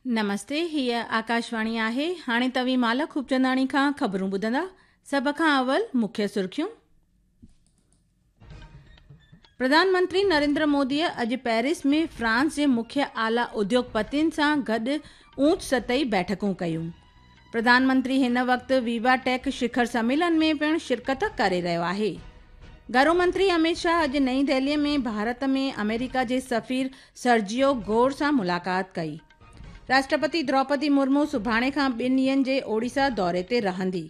نمستي، هيء آڪاشواڻي آهي. هاڻي توهين مالا خوبچنداڻي کان خبرون ٻڌندا. سڀ کان اول مکيه سرخيون. پرڌان منتري نريندر موديء اڄ پيرس ۾ فرانس جي مکيه اعليٰ اديوگپتين سان گڏ اوچ سطحي بيٺڪون ڪيون. پرڌان منتري هن وقت ويوا ٽيڪ شکر سميلن ۾ پڻ شرڪت ڪري رهيو آهي. گهرو منتري اميت شاهه اڄ نئين دهلي ۾ ڀارت ۾ آمريڪا جي سفير سرجيو گور سان ملاقات ڪئي. راشٽرپتي دروپدي مرمو سڀاڻي کان ٻن ڏينهن جي اوڙيسا دوري تي رهندي.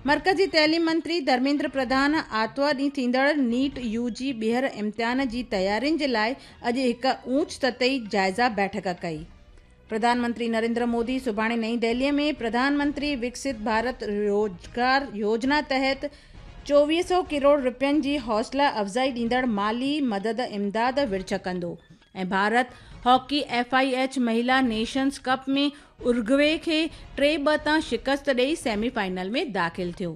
مرڪزي تعليم منتري ڌرميندر پرڌان آرتوار ڏينهن ٿيندڙ نيٽ يو جي ٻيهر امتحان جي تيارين جي لاء اڄ هڪ اوچ سطحي جائزه بيٺڪ ڪئي. پرڌان منتري نريندر مودي سڀاڻي نئين دهلي ۾ پرڌان منتري وڪست ڀارت روزگار يوجنا تحت 2400 ڪروڙ رپين جي حوصلا افزائي ڏيندڙ مالي مدد امداد ورڇ ڪندو ۽ Bharat hockey F I H مهيلا nations cup ۾ ارگوي کي 3-2 تان شڪست ڏئي سيمي فائنل ۾ داخل ٿيو.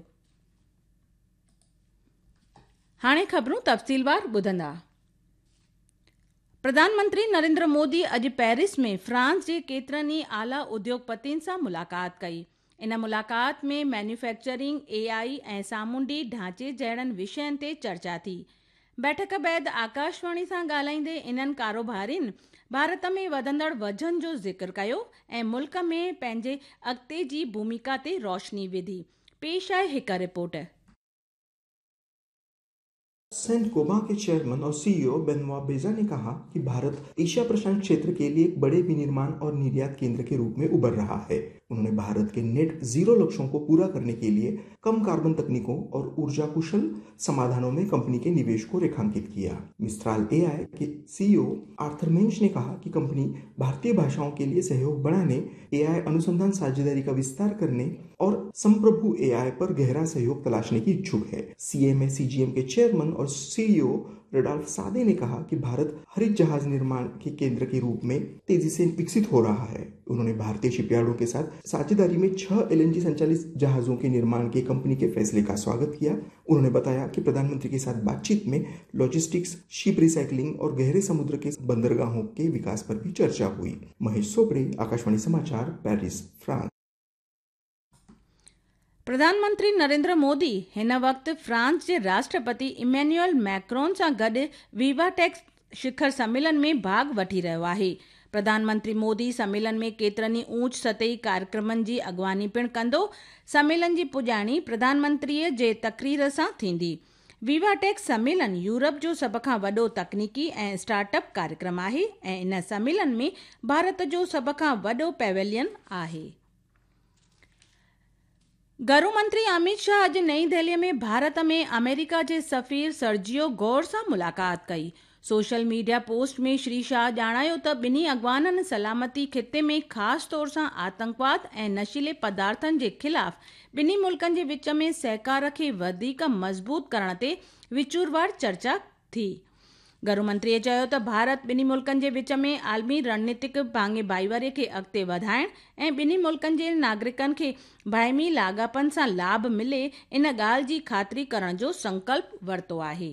هاڻي خبرون تفصيلوار ٻڌندا. پرڌان منتري نريندر مودي اڄ پيرس ۾ فرانس جي ڪيترن ئي اعليٰ اديوگپتين سان ملاقات ڪئي. ان ملاقات ۾ مينوفيڪچرنگ، اي آء ۽ سامونڊي ڍانچي جهڙن وشين تي چرچا ٿي. بيٺڪ بعد آڪاشواڻي سان ڳالهائيندي انهن ڪاروبارين ڀارت ۾ وڌندڙ وزن جو ذڪر ڪيو ۽ ملڪ ۾ پنهنجي اڳتي جي ڀوميڪا تي روشني وڌي. پيش آهي هڪ رپورٽ. सेंट गोबा के चेयरमैन और सीईओ बेनवा बेजा ने कहा कि भारत एशिया प्रशांत क्षेत्र के लिए एक बड़े विनिर्माण और निर्यात केंद्र के रूप में उभर रहा है। उन्होंने भारत के नेट जीरो लक्ष्यों को पूरा करने के लिए कम कार्बन तकनीकों और ऊर्जा कुशल समाधानों में कंपनी के निवेश को रेखांकित किया। मिस्ट्राल एआई के सीईओ आर्थर मेंश ने कहा कि कंपनी भारतीय भाषाओं के लिए सहयोग बढ़ाने, एआई अनुसंधान साझेदारी का विस्तार करने और संप्रभु एआई पर गहरा सहयोग तलाशने की इच्छुक है। सीएमए सीजीएम के चेयरमैन और सीईओ रडाल्फ सादे ने कहा कि भारत हरित जहाज निर्माण के केंद्र के रूप में तेजी से विकसित हो रहा है। उन्होंने भारतीय शिपयार्डों के साथ साझेदारी में 6 एलएनजी संचालित जहाजों के निर्माण के कंपनी के फैसले का स्वागत किया। उन्होंने बताया कि प्रधानमंत्री के साथ बातचीत में लॉजिस्टिक्स, शिप रिसाइकलिंग और गहरे समुद्र के बंदरगाहों के विकास पर भी चर्चा हुई। महेश सोपड़े, आकाशवाणी समाचार, पेरिस, फ्रांस। پرڌان منتري نريندر مودي هن وقت فرانس جي راشٽرپتي ايمينيول ميڪرون سان گڏ ويوا ٽيڪ شکر سميلن ۾ ڀاڳ وٺي رهيو آهي. پرڌان منتري مودي سميلن ۾ ڪيترن ئي اوچ سطحي ڪاريڪرمن جي اڳواڻي پڻ ڪندو. سميلن جي پڄاڻي پرڌان منتري جي تقرير سان ٿيندي. ويوا ٽيڪ سميلن يورپ جو سڀ کان وڏو تڪنيڪي ۽ اسٽارٽ اپ ڪاريڪرم آهي ۽ ان سميلن ۾ ڀارت جو سڀ کان وڏو پيويلين آهي. گهرو منتري اميت شاهه اڄ نئين دهلي ۾ ڀارت ۾ آمريڪا جي سفير سرجيو گور سان ملاقات ڪئي. Social media post ۾ Shri Shah ڄاڻايو ته ٻنهي اڳواڻن سلامتي خطي ۾ خاص طور سان آتنڪواد ۽ نشيلي پدارٿن جي خلاف ٻنهي ملڪن جي وچ ۾ سهڪار کي وڌيڪ مضبوط ڪرڻ تي وچوروار چرچا ٿي. گهرو منتري چيو ته ڀارت ٻنهي ملڪن جي وچ ۾ عالمي رڻنيتڪ ڀاڱي ڀائيواري کي اڳتي وڌائڻ ۽ ٻنهي ملڪن جي ناگرڪن کي باهمي لاڳاپن سان لاڀ ملي ان ڳالهه جي خاطري ڪرڻ جو سنڪلپ ورتو آهي.